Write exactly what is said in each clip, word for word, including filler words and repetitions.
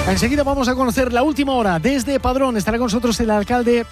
Enseguida vamos a conocer la última hora. Desde Padrón estará con nosotros el alcalde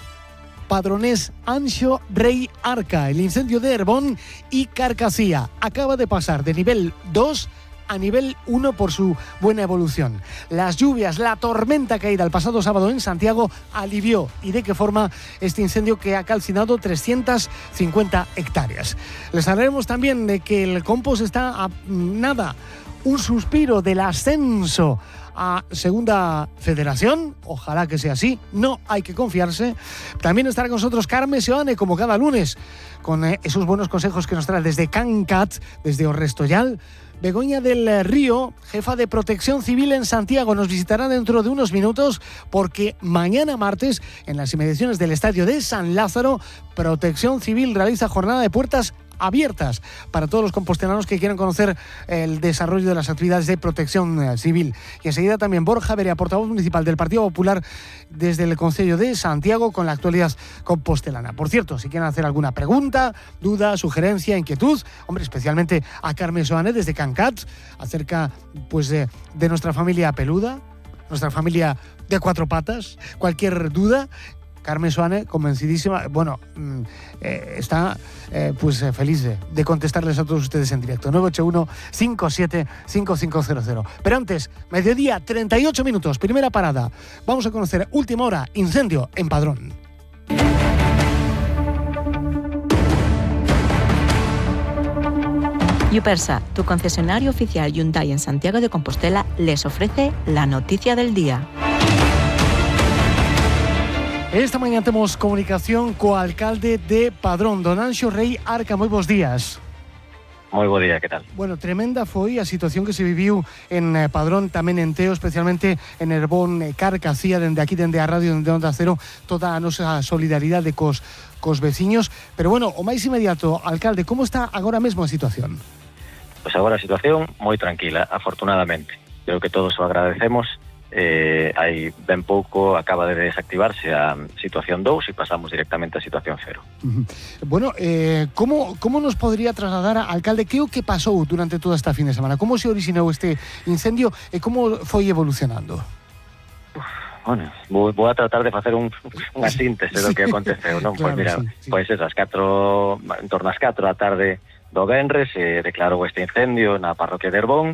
padronés Anxo Rei Arca. El incendio de Herbón y Carcasía acaba de pasar de nivel dos a nivel uno por su buena evolución. Las lluvias, la tormenta caída el pasado sábado en Santiago alivió y de qué forma este incendio que ha calcinado trescientas cincuenta hectáreas. Les hablaremos también de que el compost está a nada, un suspiro del ascenso a Segunda Federación, ojalá que sea así, no hay que confiarse. También estará con nosotros Carme Seoane, como cada lunes, con eh, esos buenos consejos que nos trae desde Cancat, desde Orrestoyal. Begoña del Río, jefa de Protección Civil en Santiago, nos visitará dentro de unos minutos porque mañana martes, en las inmediaciones del estadio de San Lázaro, Protección Civil realiza jornada de puertas abiertas para todos los compostelanos que quieran conocer el desarrollo de las actividades de protección civil. Y enseguida también Borja Berea, portavoz municipal del Partido Popular desde el Concello de Santiago, con la actualidad compostelana. Por cierto, si quieren hacer alguna pregunta, duda, sugerencia, inquietud, hombre, especialmente a Carme Soane desde Cancat, acerca pues de, de nuestra familia peluda, nuestra familia de cuatro patas, cualquier duda, Carme Soane, convencidísima, bueno, eh, está eh, pues eh, feliz de, de contestarles a todos ustedes en directo. nueve ocho uno, cinco siete cinco cinco cero cero. Pero antes, mediodía, treinta y ocho minutos, primera parada. Vamos a conocer última hora, incendio en Padrón. Yupersa, tu concesionario oficial Hyundai en Santiago de Compostela, les ofrece la noticia del día. Esta mañana tenemos comunicación co alcalde de Padrón, don Anxo Rei Arca. Moi bons días. Moi bo día, que tal? Bueno, tremenda foi a situación que se viviu en Padrón, tamén en Teo, especialmente en Herbón, Carcasía, dende aquí, dende a radio, dende Onda Cero, toda a nosa solidaridade cos, cos veciños. Pero bueno, o máis inmediato, alcalde, como está agora mesmo a situación? Pois agora a situación moi tranquila, afortunadamente. Creo que todos o agradecemos. Eh, hai ben pouco acaba de desactivarse a situación dous e pasamos directamente a situación cero. Uh-huh. Bueno, eh, como, como nos podría trasladar, alcalde, que o que pasou durante toda esta fin de semana? Como se orixinou este incendio e como foi evolucionando? Uf, bueno, vou, vou a tratar de facer un, unha síntese do que aconteceu, non? Claro, pois mira, sí, sí. pois esas catro, en torno ás catro da tarde do venres se declarou este incendio na parroquia de Herbón.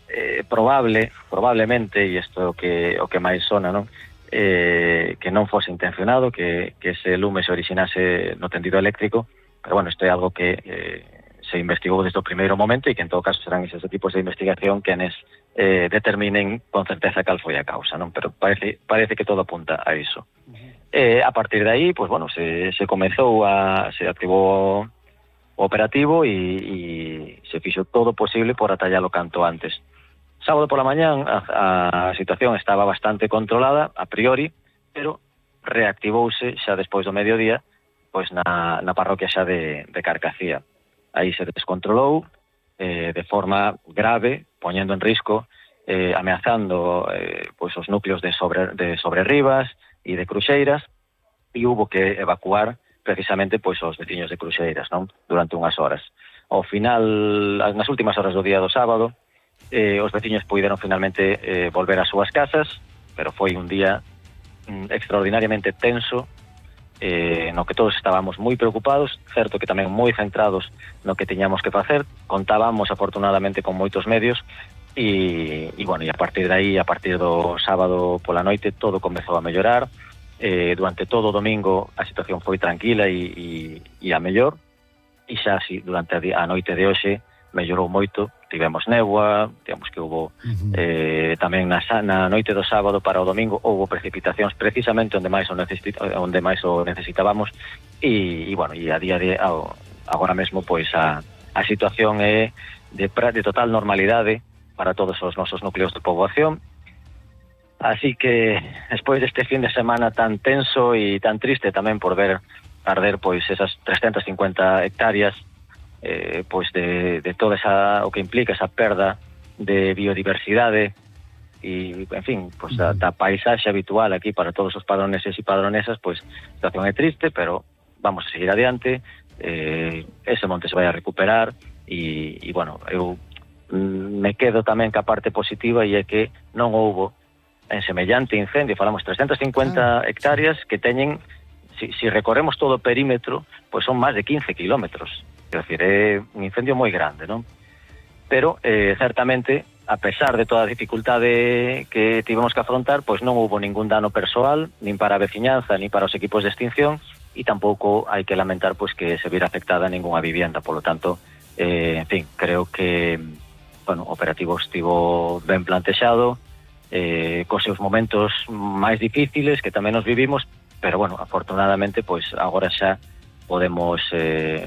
Eh, probable, probablemente, e isto é o que, o que máis sona, non? Eh, que non fose intencionado, que, que ese lume se orixinase no tendido eléctrico, pero bueno, isto é algo que eh, se investigou desde o primeiro momento e que en todo caso serán eses tipos de investigación que anes eh, determinen con certeza cal foi a causa, non? Pero parece, parece que todo apunta a iso. Uh-huh. Eh, a partir de aí, pues bueno, se, se comezou a, se activou o operativo e, e se fixo todo posible por atallalo canto antes. Sábado pola mañán a, a situación estaba bastante controlada a priori, pero reactivouse xa despois do mediodía pois na, na parroquia xa de, de Carcasía. Aí se descontrolou eh, de forma grave, poñendo en risco, eh, ameazando eh, pois os núcleos de, sobre, de Sobrerribas e de Cruxeiras, e hubo que evacuar precisamente pois os veciños de Cruxeiras, non? Durante unhas horas. Ao final, nas últimas horas do día do sábado, Eh, os veciños puideron finalmente eh, volver ás súas casas, pero foi un día mm, extraordinariamente tenso, eh, no que todos estábamos moi preocupados, certo que tamén moi centrados no que tiñamos que facer. Contábamos afortunadamente con moitos medios e, e bueno, e a partir de aí, a partir do sábado pola noite, todo comezou a mellorar. Eh, durante todo o domingo a situación foi tranquila e, e, e a mellor, e xa así, durante a, a noite de hoxe mellorou moito. Tivemos néboa, digamos que houve uh-huh. eh, tamén na, na noite do sábado para o domingo houve precipitacións precisamente onde máis o, necesita, onde máis o necesitábamos e, e bueno, e a día de agora mesmo pois a, a situación é de, de total normalidade para todos os nosos núcleos de poboación. Así que despois deste fin de semana tan tenso e tan triste tamén por ver arder pois esas trescientas cincuenta hectáreas, Eh, pois de, de toda esa, o que implica esa perda de biodiversidade e, en fin, pois da, da paisaxe habitual aquí para todos os padroneses e padronesas, pois a situación é triste, pero vamos a seguir adiante. Eh, ese monte se vai a recuperar e, e bueno, eu mm, me quedo tamén ca parte positiva e é que non houbo en semellante incendio, falamos trescientas cincuenta ah, hectáreas que teñen, si, si recorremos todo o perímetro, pois son máis de quince kilómetros. Quero dicir, é un incendio moi grande, non? Pero, eh, certamente, a pesar de toda a dificultade que tivemos que afrontar, pois non houve ningún dano persoal, nin para a veciñanza, nin para os equipos de extinción, e tampouco hai que lamentar pois que se vira afectada ningunha vivienda. Polo tanto, eh, en fin, creo que bueno, o operativo estivo ben plantexado, eh, cos seus momentos máis difíciles que tamén nos vivimos, pero, bueno, afortunadamente, pois agora xa podemos eh,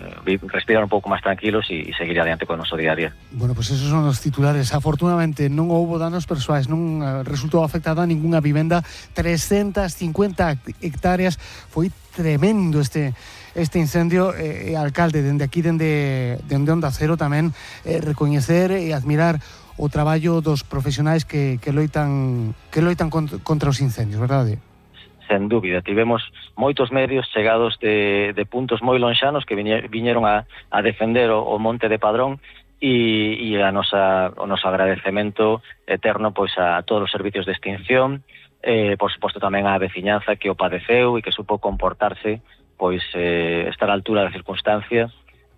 respirar un pouco máis tranquilos e, e seguir adiante con o noso día a día. Bueno, pues esos son os titulares. Afortunadamente non houbo danos persoais, non resultou afectada ningunha vivenda. trescientas cincuenta hectáreas, foi tremendo este este incendio. Eh, alcalde, dende aquí, dende, dende Onda Cero tamén, eh, recoñecer e admirar o traballo dos profesionais que, que loitan que loitan contra os incendios, verdade? Sen dúbida, tivemos moitos medios chegados de, de puntos moi lonxanos que viñeron a, a defender o, o Monte de Padrón e, e a nosa, o noso agradecemento eterno pois a todos os servicios de extinción, eh, por suposto tamén á veciñanza que o padeceu e que supo comportarse, pois eh, estar á altura da circunstancia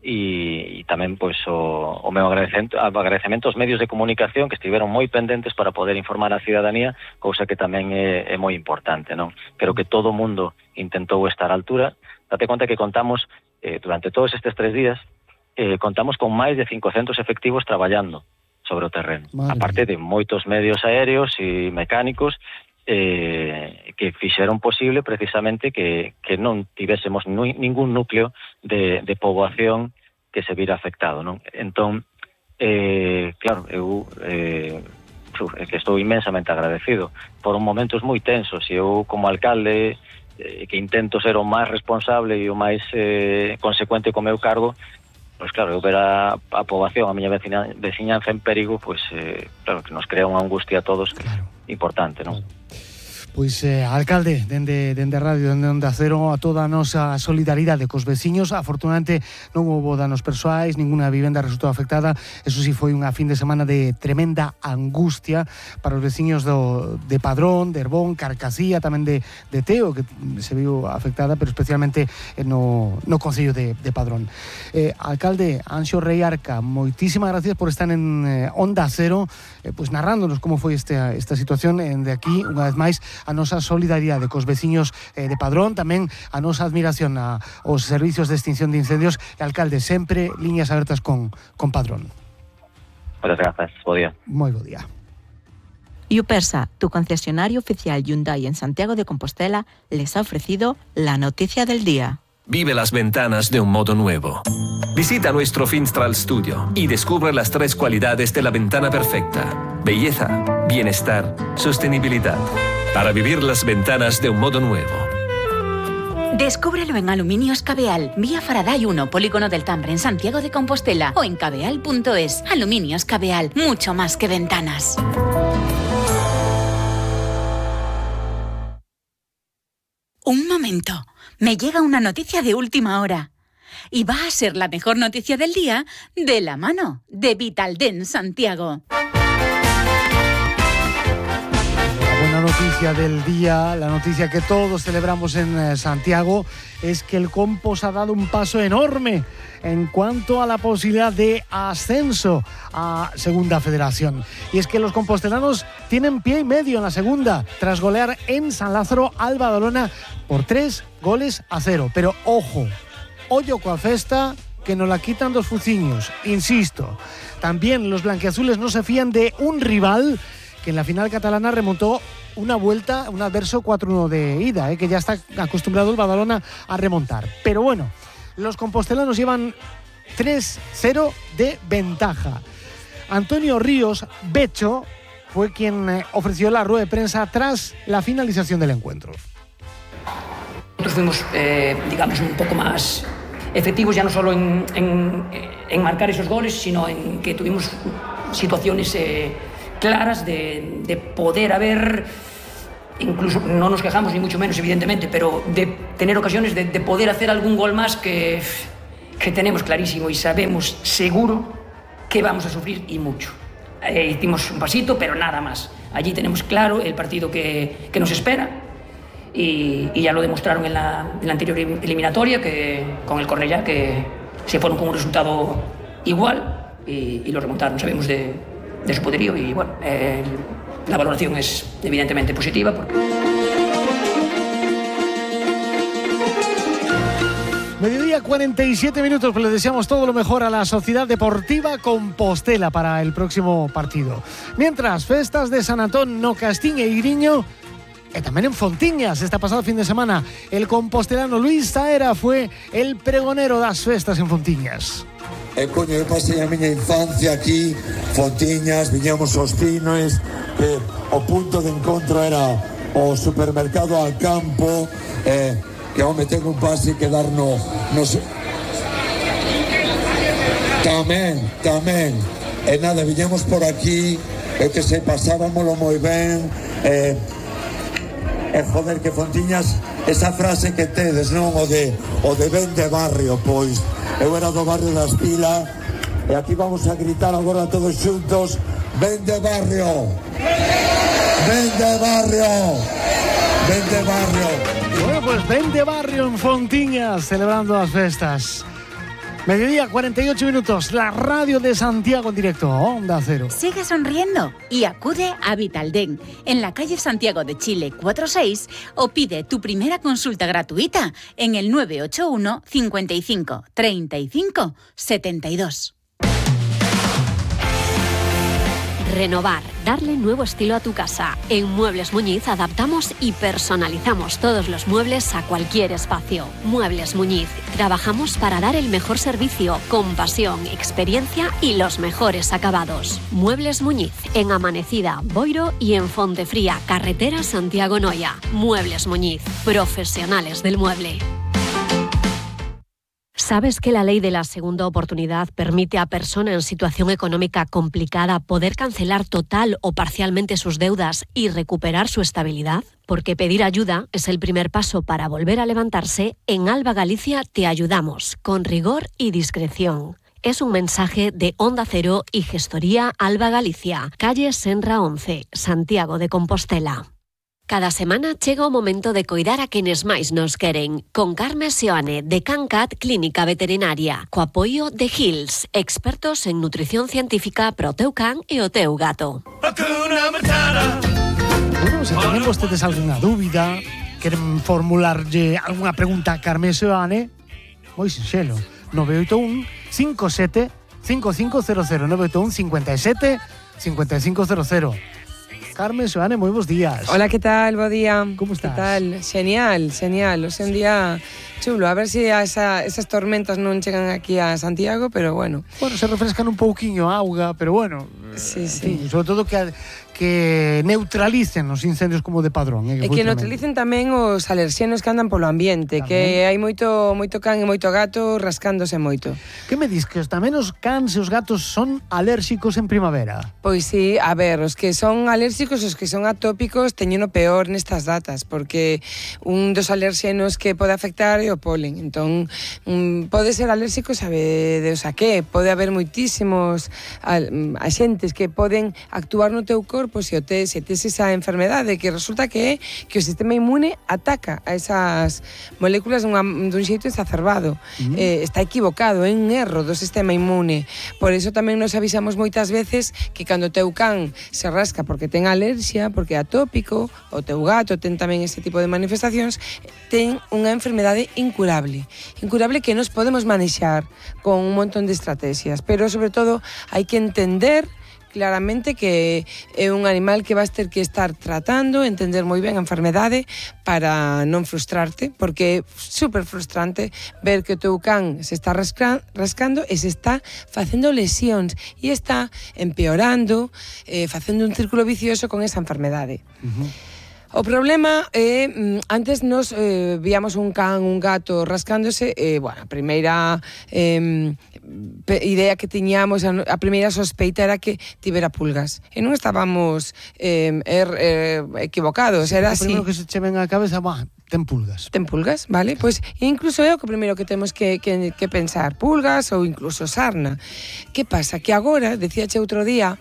e, e tamén pois o, o meu agradecemento, agradecemento aos medios de comunicación que estiveron moi pendentes para poder informar a cidadanía, cousa que tamén é, é moi importante, non? Creo que todo o mundo intentou estar á altura. Date conta que contamos, eh, durante todos estes tres días, eh, contamos con máis de cincocentos efectivos traballando sobre o terreno, Madre aparte mía. de moitos medios aéreos e mecánicos eh, que fixeron posible precisamente que, que non tivésemos nu, ningún núcleo de, de poboación que se vira afectado, non? Entón, eh, claro, eu eh, é que estou inmensamente agradecido. Foron momentos moi tensos e eu como alcalde eh, que intento ser o máis responsable e o máis eh, consecuente co meu cargo, pois claro, eu ver a, a poboación, a miña vecina, veciñanza en perigo, pois eh, claro, que nos crea unha angustia a todos, claro, importante, non? Claro. Pois, eh, alcalde, dende, dende Radio, dende Onda Cero, a toda a nosa solidaridade cos veciños. Afortunadamente non houbo danos persoais, ninguna vivenda resultou afectada. Eso sí, foi unha fin de semana de tremenda angustia para os veciños do, de Padrón, de Herbón, Carcasía, tamén de, de Teo, que se viu afectada, pero especialmente no, no Concello de, de Padrón. Eh, alcalde Anxo Rei Arca, moitísimas gracias por estar en eh, Onda Cero, eh, pues narrándonos como foi esta, esta situación. En de aquí, unha vez máis, a nosa solidaridade cos veciños eh, de Padrón, tamén a nosa admiración a, aos servicios de extinción de incendios. E, alcalde, sempre liñas abertas con, con Padrón. Muchas gracias, bo día. Moi bo día. Yupersa, tu concesionario oficial Hyundai en Santiago de Compostela, les ha ofrecido la noticia del día. Vive las ventanas de un modo nuevo. Visita nuestro Finstral Studio y descubre las tres cualidades de la ventana perfecta: belleza, bienestar, sostenibilidad. Para vivir las ventanas de un modo nuevo. Descúbrelo en Aluminios Cabeal, vía Faraday uno, Polígono del Tambre, en Santiago de Compostela, o en cabeal punto es. Aluminios Cabeal, mucho más que ventanas. Un momento, me llega una noticia de última hora. Y va a ser la mejor noticia del día de la mano de Vitalden Santiago. La buena noticia del día, la noticia que todos celebramos en eh, Santiago, es que el Compos ha dado un paso enorme en cuanto a la posibilidad de ascenso a Segunda Federación. Y es que los compostelanos tienen pie y medio en la segunda, tras golear en San Lázaro al Badalona por tres goles a cero. Pero ojo, ollo coa festa, que nos la quitan dos fuciños. Insisto, también los blanquiazules no se fían de un rival que en la final catalana remontó una vuelta, un adverso cuatro uno de ida, eh, que ya está acostumbrado el Badalona a remontar. Pero bueno, los compostelanos llevan tres cero de ventaja. Antonio Ríos Becho fue quien eh, ofreció la rueda de prensa tras la finalización del encuentro. Nosotros fuimos, eh, digamos, un poco más efectivos, ya no solo en, en, en marcar esos goles, sino en que tuvimos situaciones eh, claras de, de poder haber, incluso no nos quejamos ni mucho menos evidentemente, pero de tener ocasiones de, de poder hacer algún gol más que, que tenemos clarísimo y sabemos seguro que vamos a sufrir y mucho. eh, hicimos un pasito, pero nada más. Allí tenemos claro el partido que, que nos espera y, y ya lo demostraron en la, en la anterior eliminatoria que, con el Cornellá, que se fueron con un resultado igual y, y lo remontaron. Sabemos de, de su poderío y bueno, eh, la valoración es evidentemente positiva porque... Mediodía, cuarenta y siete minutos, pues le deseamos todo lo mejor a la Sociedad Deportiva Compostela para el próximo partido. Mientras, festas de San Antón no Castín e Iriño, e tamén en Fontiñas. Esta pasada fin de semana, el compostelano Luis Saera fue el pregonero das festas en Fontiñas. E coño, eu pasei a miña infancia aquí, Fontiñas, viñamos aos Pinoes, que o punto de encontro era o supermercado al campo, eh, que home ten un pase que dar no, no sé. Tamén, tamén. E nada, viñamos por aquí, e que se pasábamoslo moi ben, e, e joder, que Fontiñas, esa frase que tedes, non? O de, o de ben de barrio, pois. Eu era do barrio das Pilas, e aquí vamos a gritar agora todos xuntos, ben de barrio, ben de barrio, ben de barrio. Bueno, pues ven de barrio en Fontiñas, celebrando las festas. Mediodía, cuarenta y ocho minutos, la radio de Santiago en directo, Onda Cero. Sigue sonriendo y acude a Vitaldent, en la calle Santiago de Chile cuarenta y seis, o pide tu primera consulta gratuita en el nueve ocho uno, cincuenta y cinco, treinta y cinco, setenta y dos. Renovar, darle nuevo estilo a tu casa. En Muebles Muñiz adaptamos y personalizamos todos los muebles a cualquier espacio. Muebles Muñiz, trabajamos para dar el mejor servicio, con pasión, experiencia y los mejores acabados. Muebles Muñiz, en Amanecida, Boiro y en Fontefría, carretera Santiago Noia. Muebles Muñiz, profesionales del mueble. ¿Sabes que la ley de la segunda oportunidad permite a personas en situación económica complicada poder cancelar total o parcialmente sus deudas y recuperar su estabilidad? Porque pedir ayuda es el primer paso para volver a levantarse. En Alba Galicia te ayudamos, con rigor y discreción. Es un mensaje de Onda Cero y Gestoría Alba Galicia, calle Senra once, Santiago de Compostela. Cada semana chega o momento de coidar a quenes máis nos queren, con Carme Seoane, de CanCat Clínica Veterinaria, co apoio de Hills, expertos en nutrición científica pro teu can e o teu gato. Bueno, se tienen vostedes alguna dúbida, queren formularlle alguna pregunta a Carme Seoane, moi sinxelo, nove oito un, cinco sete, cinco cinco cero cero, nove oito un, cinco sete, cinco cinco cero cero. Carmen Seoane, moi bons días. Hola, que tal? Bo día. Como estás? Que tal? Genial, genial. O sea, un día chulo. A ver se si esa, esas tormentas non chegan aquí a Santiago, pero bueno. Bueno, se refrescan un pouquiño a auga, pero bueno. Sí, sí. Fin, sobre todo que, que neutralicen os incendios como de padrón. Eh, que e que neutralicen tamén os alerxenos que andan polo ambiente, tamén. Que hai moito moito can e moito gato rascándose moito. Que me dis que os tamén os cans e os gatos son alérxicos en primavera? Pois sí, a ver, os que son alérxicos, os que son atópicos, teñen o peor nestas datas, porque un dos alerxenos que pode afectar é o polen. Entón, um, pode ser alérxico, sabe Deus a que, pode haber moitísimos axentes que poden actuar no teu corpo se o tes, se tes esa enfermedade, que resulta que é que o sistema inmune ataca a esas moléculas dunha, dun xeito exacerbado. Uh-huh. Eh, está equivocado, é un erro do sistema inmune. Por iso tamén nos avisamos moitas veces que cando o teu can se rasca porque ten alerxia, porque é atópico, o teu gato ten tamén ese tipo de manifestacións, ten unha enfermedade incurable. Incurable que nos podemos manexar con un montón de estrategias, pero sobre todo hai que entender claramente que é un animal que vas ter que estar tratando, entender moi ben a enfermedade para non frustrarte, porque é super frustrante ver que o teu can se está rasca, rascando e se está facendo lesións e está empeorando, eh, facendo un círculo vicioso con esa enfermedade. Uh-huh. O problema é, antes nos eh, víamos un can, un gato rascándose, e, eh, bueno, a primeira eh, idea que tiñamos, a, a primeira sospeita era que tivera pulgas. E non estábamos eh, er, eh, equivocados, era así. O primeiro que se che ven á cabeza, bah, ten pulgas. Ten pulgas, vale? Pois incluso é o que primeiro que temos que, que, que pensar, pulgas ou incluso sarna. Que pasa? Que agora, decíache outro día,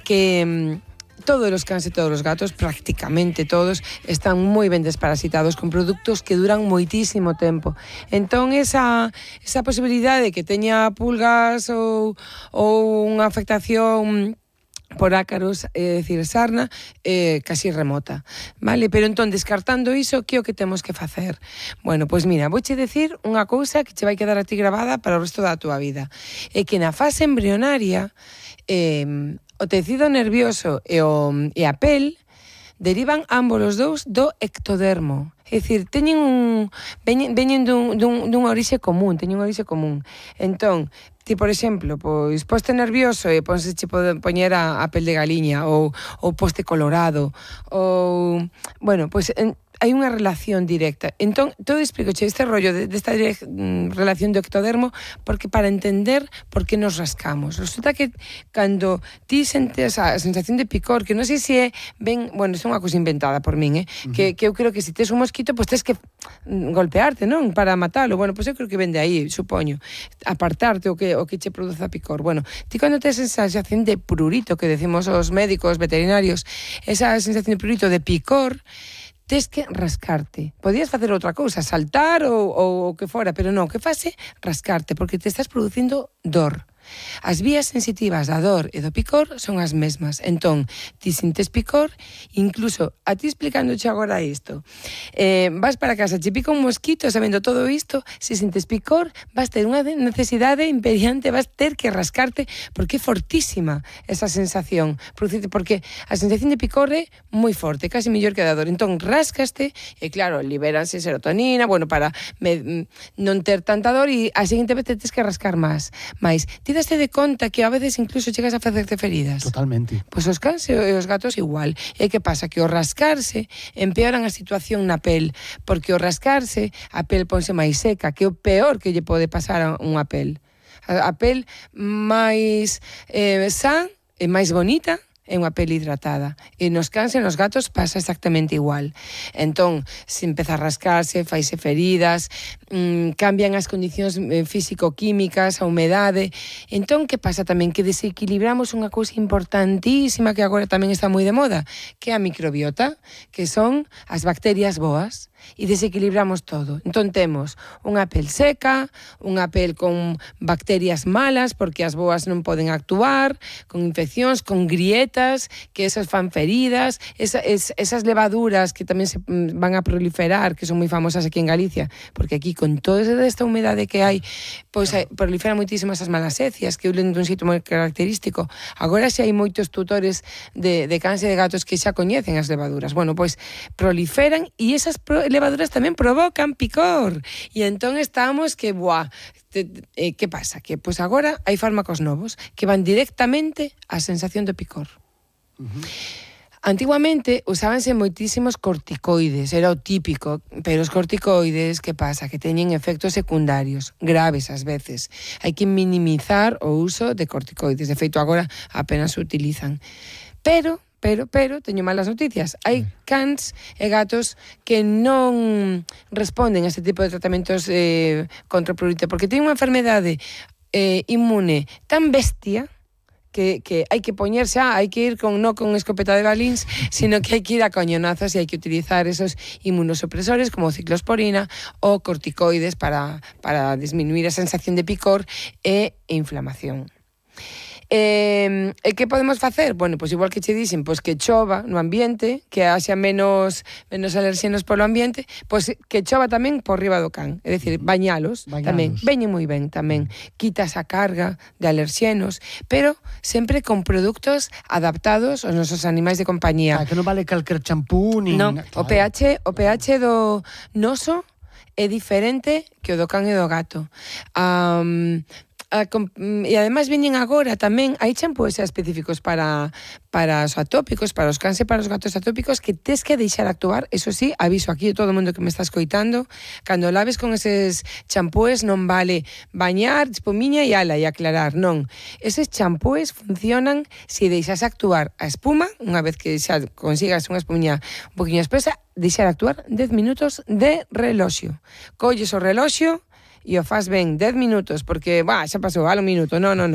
que todos los cans e todos os gatos, prácticamente todos, están moi ben desparasitados con produtos que duran moitísimo tempo. Entón, esa, esa posibilidade de que teña pulgas ou, ou unha afectación por ácaros, é dicir, sarna, eh, casi remota, vale? Pero entón, descartando iso, que é o que temos que facer? Bueno, pois mira, vouche decir unha cousa que che vai quedar a ti grabada para o resto da túa vida. É que na fase embrionaria, eh, o tecido nervioso e, o, e a pel derivan ambos os dous do ectodermo. É dicir, teñen un veñen, veñen dun, dun, dunha orixe común, teñen unha orixe común. Entón, ti, por exemplo, pois poste nervioso e ponse che pode poñer a, a pel de galiña ou, ou poste colorado ou, bueno, pois en, hai unha relación directa. Entón, todo explicoche este rollo de, desta de, de, relación do ectodermo porque para entender por que nos rascamos. Resulta que cando ti sentes a sensación de picor, que non sei se é ben, bueno, é unha cousa inventada por min, eh? Uh-huh. que, que eu creo que se tes un mosquito, pois tes que golpearte, non? Para matalo. Bueno, pois eu creo que ven de aí, supoño. Apartarte o que, o que che produza picor. Bueno, ti cando tes esa sensación de prurito, que decimos os médicos veterinarios, esa sensación de prurito, de picor, tes que rascarte. Podías facer outra cousa, saltar ou, ou o que fora, pero non, que fase rascarte, porque te estás producindo dor. As vías sensitivas da dor e do picor son as mesmas. Entón, ti sintes picor, incluso a ti explicándoche agora isto. Eh, vas para casa, che pica un mosquito, sabendo todo isto, se sintes picor, vas ter unha necesidade imperiante, vas ter que rascarte, porque é fortísima esa sensación. Porque a sensación de picor é moi forte, casi mellor que a da dor. Entón, rascaste, e claro, liberanse serotonina, bueno, para me, non ter tanta dor, e a seguinte vez te tens que rascar máis. Mais, ti daste de conta que a veces incluso chegas a facerte feridas? Totalmente. Pois os cans e os gatos igual. E que pasa? Que o rascarse empeoran a situación na pel, porque o rascarse a pel ponse máis seca, que é o peor que lle pode pasar a unha pel. A, a pel máis eh, san e máis bonita é unha pel hidratada. E nos cans e nos gatos pasa exactamente igual. Entón, se empeza a rascarse, faise feridas, mmm, cambian as condicións físico-químicas, a humedade. Entón, que pasa tamén? Que desequilibramos unha cousa importantísima que agora tamén está moi de moda, que é a microbiota, que son as bacterias boas. E desequilibramos todo. Entón temos unha pel seca, unha pel con bacterias malas porque as boas non poden actuar, con infeccións, con grietas, que esas fan feridas, esa, es, esas levaduras que tamén se van a proliferar, que son moi famosas aquí en Galicia, porque aquí con toda esta humedade que hai, pois pues, proliferan moitísimas as malasecias, que ulen dun sitio moi característico. Agora xa hai moitos tutores de, de cans e de gatos que xa coñecen as levaduras. Bueno, pois pues, proliferan e esas pro levaduras tamén provocan picor. E entón estamos que, buah, te, eh, que pasa? Que pois agora hai fármacos novos que van directamente á sensación de picor. Uh-huh. Antiguamente usábanse moitísimos corticoides, era o típico, pero os corticoides, que pasa? Que teñen efectos secundarios, graves ás veces. Hai que minimizar o uso de corticoides. De feito, agora apenas se utilizan. Pero Pero, pero, teño malas noticias. Hai cans e gatos que non responden a este tipo de tratamentos eh, contra o prurito, porque teñen unha enfermedade eh, inmune tan bestia que, que hai que poñerse, ah, hai que ir con, non con escopeta de balíns, sino que hai que ir a coñonazos e hai que utilizar esos inmunosupresores como ciclosporina ou corticoides para, para disminuir a sensación de picor e inflamación. E eh, que podemos facer? Bueno, pois igual que che dixen, pois que chova no ambiente, que haxa menos menos alerxenos polo ambiente, pois que chova tamén por riba do can, é dicir, bañalos, bañalos. Tamén, veñen moi ben tamén, quitas a carga de alerxenos, pero sempre con produtos adaptados aos nosos animais de compañía. Ah, que non vale calquer champú ni... Non, claro. o pH, o pH do noso é diferente que o do can e do gato. Um, A, e ademais veñen agora tamén, hai champúes específicos para, para os atópicos, para os cans e para os gatos atópicos, que tes que deixar actuar. Eso sí, aviso aquí a todo o mundo que me está escoitando, cando laves con eses champúes non vale bañar, espumiña e ala e aclarar, non. Eses champúes funcionan se deixas actuar a espuma, unha vez que xa consigas unha espumiña un poquinho espesa, deixar actuar dez minutos de reloxo. Colles o reloxo e o faz ben dez minutos, porque, bah, xa pasou, al un minuto, non, non, non.